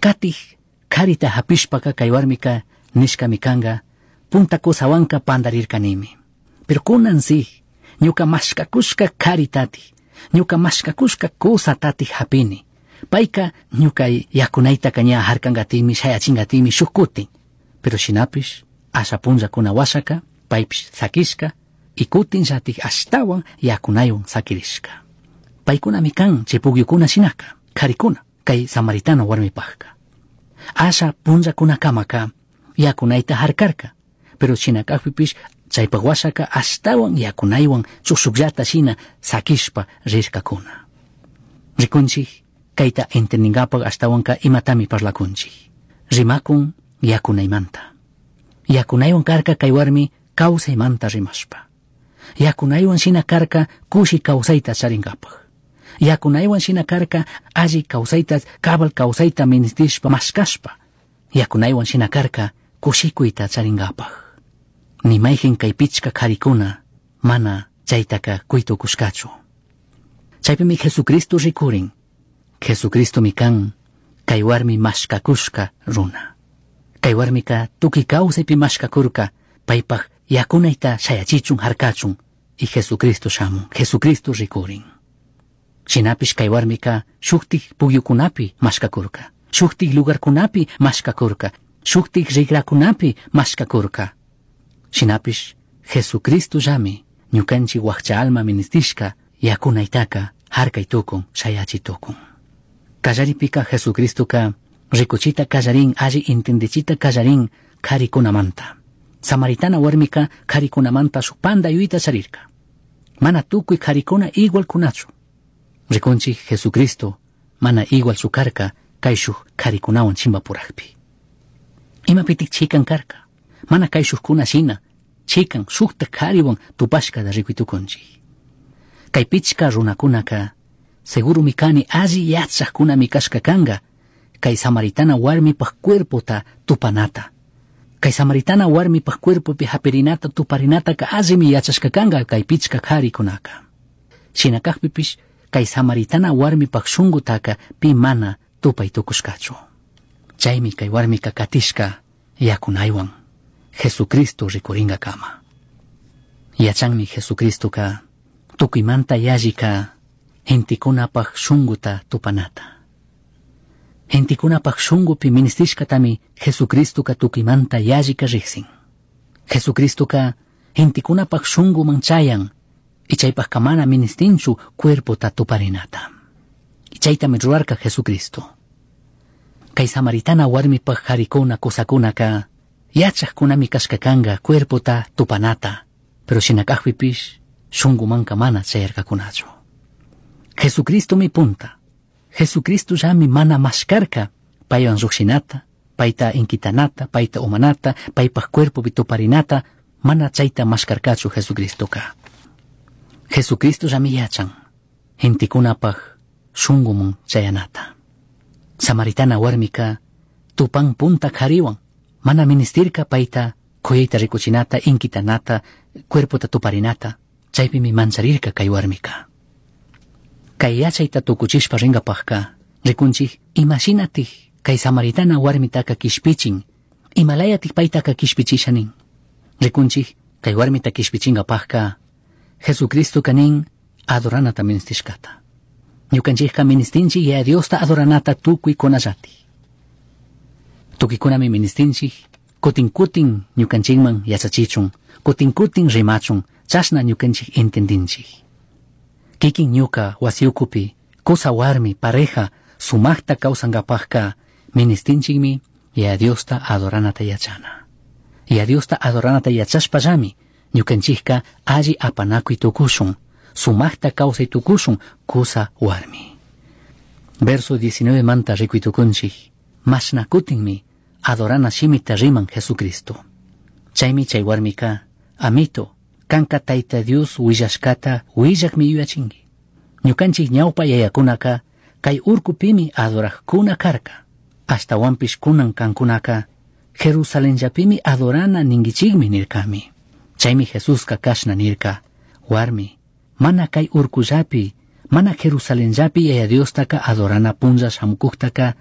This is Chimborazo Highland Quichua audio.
Katij karita hapishpaka kay warmika nishkami kanga, punta kusawanka pandarirkanimi. Pero kunan si, ñuka mashkakushka karitati, ñuka mashkakushka kusatati hapini. Payka ñuka yakunaytaka ña harkangatimi, shayachingatimi shuk kutin. Pero shinapish, asha punllakuna washaka, paypish sakishka, y kutin llatik ashtawan yakunaywan sakirishka. Paykunami kan chay pukyukuna shinaka, karikuna, kay samaritano warmipajka. Asha punllakunakamaka yakunayta harkarka, pero shinakakpipish chaypak washaka ashtawan yakunaywan chusukllata shina sakishpa rirkakuna. Rikunchik, kayta entendinkapak ashtawanka imatami parlakunchik. Rimakun yakunaymanta. Yakunaywan karka kay warmi kawsaymanta rimashpa. Yakunaywan shina karka kushi kawsayta charinkapak. Yakunaywan shina karka alli kawsayta cabal kawsayta ministishpa mashkashpa. Yakunaywan shina karka kushikuyta charinkapak. Ni mayqin kay pichka karikuna mana chaytaka kuytukushkachu. Chaypimi Jesucristo rikurin. Jesucristomi kan kay warmi mashkakushka runa. Kay warmika tukuy kawsaypi mashkakurka paypaj yakunayta shayachichun harkachun y Jesucristo shamun, Jesucristo rikurin. Shinapish kay warmika shuktik pukyukunapi mashkakurka, shuktik lugarkunapi mashkakurka, shuktik rikrakunapi mashkakurka. Shinapish Jesucristo llami ñukanchik wakcha alma ministishka yakunaytaka harkay tukun, shayachi tukun. Kallaripika Jesucristoka rikuchita kallarin, alli entendichita kallarin karikunamanta. Samaritana warmika karikunamanta shuk panda yuyta charirka. Mana tukuy karikuna igual kunachu. Rikunchik Jesucristo mana igual karka kayshuk karikunawan chimpapurakpi. Imapitik chikan karka. Mana kayshukuna shina chikan shukta kariwan tupashkata rikuytukunchik. Kay pichka runakunaka segurumi kani alli yachaqkunami kashka kanka kay samaritana warmipaj cuerpota tupanata. Kay samaritana warmipaj cuerpopi hapirinata tuparinataka allimi yachashka kanka kay pichka karikunaka. Shina kakpipish kay samaritana warmipaj shunkutaka pi mana tupay tukushkachu. Chaymi kay warmika katishka yakunaywan Jesucristo rikuringakama. Yachanmi Jesucristoka tukuymanta yallika gentekunapaj shunkuta tupanata. Gentekunapaj shunkupi ministishkatami Jesucristoka tukuymanta yallika riqsin. Jesucristoka gentekunapaj shunkuman chayan y chaypajka mana ministinchu cuerpota tuparinata. Y chaytami rurarka Jesucristo. Kay samaritana warmipaj karikuna kusakunaka yachaqkunami kashka kanka cuerpota tupanata, pero shinakajpipish shunkumanka mana chayarkakunachu. Jesucristomi punta. Jesucristo llami mana mashkarka paywan llukshinata, payta inkitanata, payta umanata, paypaj cuerpopi tuparinata, mana chayta mashkarkachu Jesucristoka. Jesucristo llami yachan gentekunapaj shunkuman chayanata. Samaritana warmika tupan punta kariwan, mana ministirka payta kuyayta rikuchinata, inkitanata, cuerpota tuparinata, chaypimi mancharirka kay warmika. Kay yachayta tukuchishpa rinkapajka, rikunchik imashinatik kay samaritana warmitaka kishpichin, imalayatik paytaka kishpichisha nin. Rikunchik kay warmita kishpichinkapajka, Jesucristo nin adoranata ministishkata. Ñukanchikka ministinchik Yaya Diosta adoranata tukuykunallati. Tukuykunami ministinchik, kutin kutin ñukanchikman yachachichun, kutin kutin rimachun, chashna ñukanchik entendinchik. Kikin ñuka wasi ukupi, kusa warmi, pareja, sumaqta kawsankapajka ministinchikmi Yaya Diosta adoranata yachana. Yaya Diosta adoranata yachashpallami ñukanchikka alli apanakuy tukushun, sumaqta kawsay tukushun kusa warmi. Verso 19 manta rikuy tukunchik, mashna kutinmi adorana shimita riman Jesucristo. Chaymi chay warmika, amito, kanka Tayta Dios willashkata willakmi yuyachinki. Ñukanchik ñawpa yayakunaka kay urkupimi adoraqkuna karka. Ashtawanpish kunan kankunaka Jerusalenllapimi adorana ninkichikmi nirkami. Chaymi Jesuska kashna nirka, warmi, mana kay urkullapi, mana Jerusalenllapi Yaya Diostaka adorana punlla shamukuqtaka.